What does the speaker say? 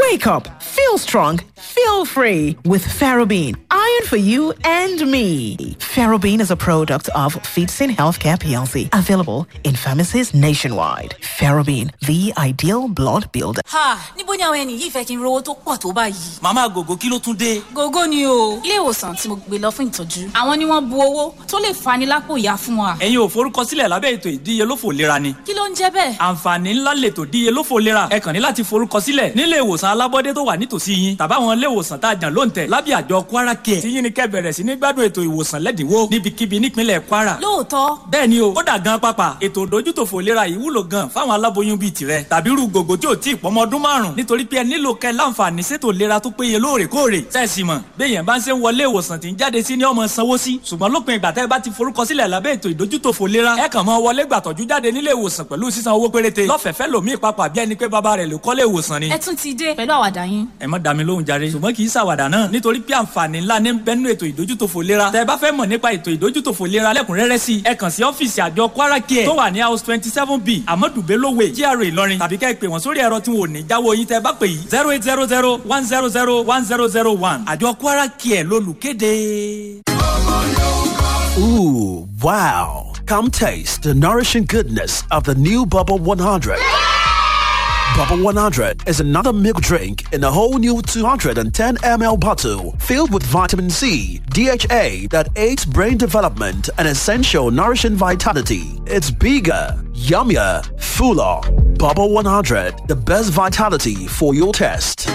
Wake up, feel strong, feel free with Ferrobean. Iron for you and me. Ferrobean is a product of Feedsin Healthcare PLC, available in pharmacies nationwide. Ferrobean, the ideal blood builder. Ha! Níbo ni àwọn ẹni yìí fẹ́ kí n rówó tó pọ̀ tó báyìí? Màmá Gògó, kí ló tún dé? Gógó ni o. Ilé ìwòsàn tí mo gbé lọ fún ìtọ́jú, àwọn ni wọ́n bu owó tó lè fani lápò ìyá fún wa. Ẹ̀yin ò forúkọsílẹ̀ lábẹ́ ètò ìdíyelófò ìlera ni? Kí ló ń jẹ́ bẹ́ẹ̀? Àǹfààní ńlá lètò ìdíyelófò ìlera. Ẹ kàn ní láti forúkọsílẹ̀ nílé ìwòsàn alábọ́dé tó wà nítòsí yín tàbáwọn ilé ìwòsàn tá a jàn lóǹtẹ̀ lábẹ́ àjọ Kwara Care. Tí yín ni kẹ́ bẹ̀rẹ̀ sí ní gbádùn ètò ìwòsàn lẹ́dínwó níbikíbi nípínlẹ̀ Kwara. Lóòótọ́? Bẹ́ẹ̀ ni o. Kódà gan pápá, ètò ìdójútòfò ìlera yìí wúlò gan fáwọn aláboyún bíi tirẹ̀ tàbí irú gògó tí ò tí ì pọ́mọ ọdún 5, nítorí pé ẹ nílò kẹ́ láǹfààní sétò ìlera tó péye lóòrèkóòrè. Sẹ́ẹ̀sì mọ̀ béèyàn bá ń ṣe ń wọlé ìwòsàn tí ń jáde sí ní ọmọ sanwó sí, ṣùgbọ́n lópin ìgbà tẹ́ ẹ bá ti forúkọsílẹ̀ lábẹ́ ètò ìdójútòfò ìlera, ẹ kàn mọ́ wọlé gbàtọ́jú jáde nílé ìwòsàn pẹ̀lú sísan owó péréte lọ́fẹ̀ẹ́fẹ́ lòmíì papà bí ẹni pé bàbá rẹ̀ ló kọ́lé ìwòsàn ni. Ẹ tún ti dé pẹ̀lú àwàdà yín. Ẹ má dá mi lóhùn jàre. Ṣùgbọ́n kì í ṣàwàdà náà, nítorí pé àǹfààní ńlá ní bẹ́nu ètò ìdójútòfò ìlera. Tẹ́ ẹ bá fẹ́ mọ̀ nípa ètò ìdójútòfò ìlera lẹ́kùnrẹ́rẹ́ sí, ẹ kàn sí ọ́fíìsì àjọ Kwara Care tó wà ní house 27B, Amadu Bello Way, GRA Ìlọrin, tàbí kẹ́ ẹ pè wọ́n sórí ẹ̀rọ tí wọn ò ní jáwọ́ yín tẹ́ ẹ bá pè yìí: 08001001001. Àjọ Kwara Care lolùkéde. Ooh, wow. Come taste the nourishing goodness of the new Bubble 100. Bubble 100 is another milk drink in a whole new 210 ml bottle filled with vitamin C, DHA that aids brain development and essential nourishing vitality. It's bigger, yummier, fuller. Bubble 100, the best vitality for your test.